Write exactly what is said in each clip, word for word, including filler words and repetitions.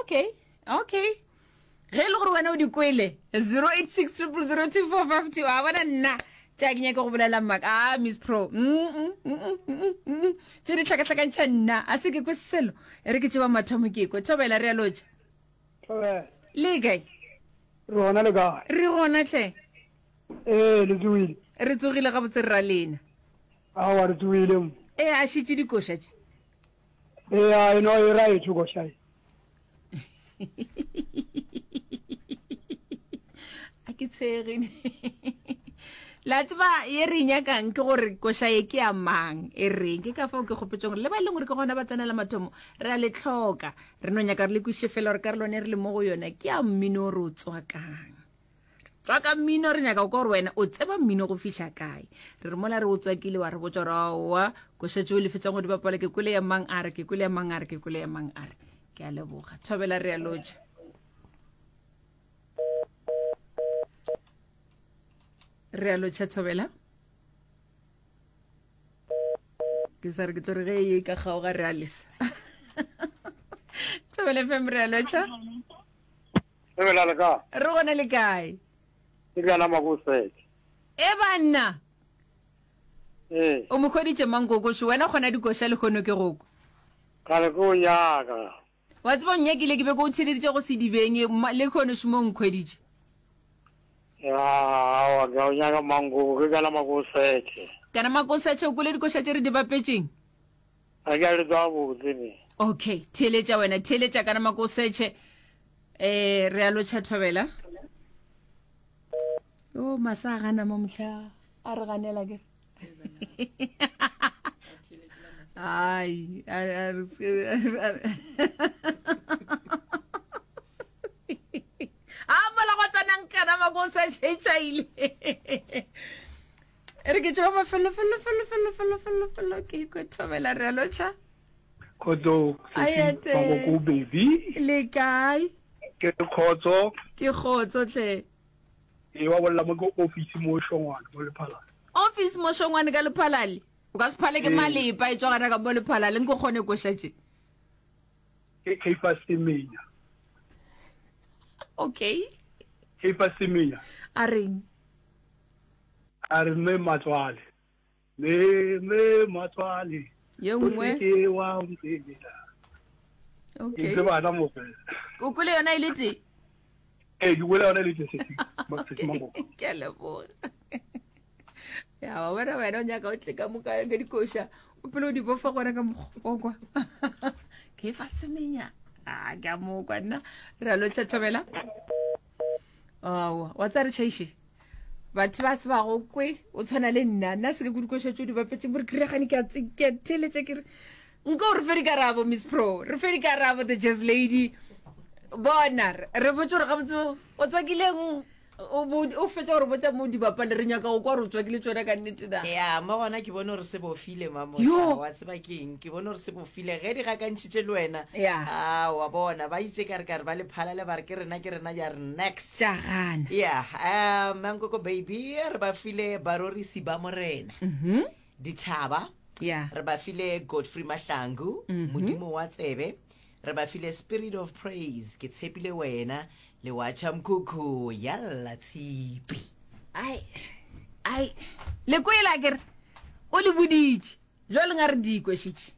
Okay, okay. Ge e le gore wena o di kwele, zero eight six triple zero two four five two, a bona nna tša ke nyake go bolela maka. Ah, Miss Pro, mm, mm, mm, mm, mm, tše di hlakahlakantšha nna, a se ke kwe selo. E re ke tšeba mathomo ke kwe. Thobela, re a lotša. Thobela. Le kae? Re gona, le kae? Re gona hle. Ee, le tsogile. Re tsogile gabotse rra lena. Aowa, re tsogile mo. Ee, a šetše dikoša tše. Ee, a eno e ra etho koša e. A ke tshege. La tseba ye re nyakang ke gore koša ye ke ya mang e reng, ke ka fao ke kgopetšeng gore le ba e leng gore ke gona ba tsenela mathomo re a le tlhoka, re no nyaka re le kwešiše fela gore karolo yone re le mo go yona ke ya mmino re o tswakang. Tswaka mmino, re nyaka go kwa gore wena o tseba mmino go fihla kae. Re re mola re o tswakile wa re botša gore aowa koša tšeo le fetšang go di bapala ke kwele ya mang a re, ke kwele ya mang a re, ke kwele ya mang a re. Ke a leboga. Thobela, re a lotša. Re a lotšha Thobela. Ke sa re ke tlo re ge e ka kgaoga re a lesa. Thobela F M, re a lotšha. Thobela le kae? Re gona le kae? Ke bjana Makosete. E banna. Ee. O mo hweditše mang kokošo? Wena kgona dikoša le kgono ke go kwa. Kgale ke o nyaka. Wa tseba o nnyakile ke be ke o theleditše go sedibeng le kgono šomo o nkhweditše. Ya, aowa, ke a o nyaka mankoko, ke kana Makosete. Kana Makosete, o kwele dikoša tše re di bapetšeng? Ga ke a le tswa botse ne. Okay, theeletša wena, theeletša kana Makosete. Eh, re a lotšha Thobela. O masa a gana mo mohla a re ganela ke. Ai, a a re a mola go tsanang kana Makosete tšhaile. Re ke tšwa mafelo felo felo felo felo felo felo ke kwe Thobela re a lotšha. Khotso, Ayete. Mankoko baby. Le kae? Ke khotso. Ke khotso tle. E wa bolla mo ke office mo Shongwane mo Lephalale. Office mo Shongwane ka Lephalale. O ka se phale ke malepa e tswa gana ka mo Lephalale nko kgone koša tše. Ke Caiphus Semenya. Okay. Caiphus Semenya. A reng? A re mme matswale. Me me matswale. Ye nngwe. Ke wa mpela. Okay. Ke bana mo fela. O kwele yona e le tee? Ee, ke kwele yona e le tee sesi. Sesi Mankoko. Ke a leboga. Ya wa bona wena o nyaka o tle ka moka ka dikoša. O pele o di bofa gona ka mokgwa kwa. Ke fa semenya. Ah, ke a mo kwa nna. Re a lotšha Thobela. Aowa, wa tsaya re tšhaiše. Batho ba se ba go kwe, o tshwana le nna. Nna se ke go dikoša tšeo di bapetšeng gore ke regane ke a tse ke a theeletša ke re nko re fe dikarabo Miss Pro, re fe dikarabo the Jazz Lady. Bona re botse gore gabotse o tswakileng o o fetša gore botša mo di bapale re nyaka go kwa gore o tswakile tšona ka nnete na. Ya, mo gona ke bone gore se bofile mamo. Wa tseba keng? Ke bone gore se bofile ge di gakantšhitše le wena. Ya. Ah, wa bona ba itše ka re ka re ba le phalale ba re ke rena ke rena ya re next. Tša gana. Ya, um Mankoko baby re ba file barorisi ba morena. Mhm. Dithaba. Ya. Re ba file Godfrey Mahlangu, Modimo wa tsebe. Re ba file Spirit of Praise, ke tshepile wena. Le wa tšha mkhukhu ya lla tshipi. Ai, ai, le kwela ke re o le boditše jwale nga re di kwešitše.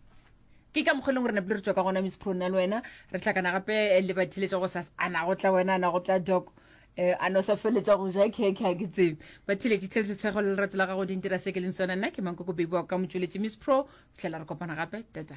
Ke ka mokgwa e leng gore napile re tšwa ka gona Miss Pro nna le wena re hlakana gape le batheletša go sas ana go tla wena ana go tla doc eh a no sa feletša go ja khekhe a ke tsebe. Batheletši tsheletšo tshego le lerato la gago di ntira se ke leng sona. Nna ke Mankoko baby wa ka motšweletši Miss Pro, fihlela re kopana gape. Tata.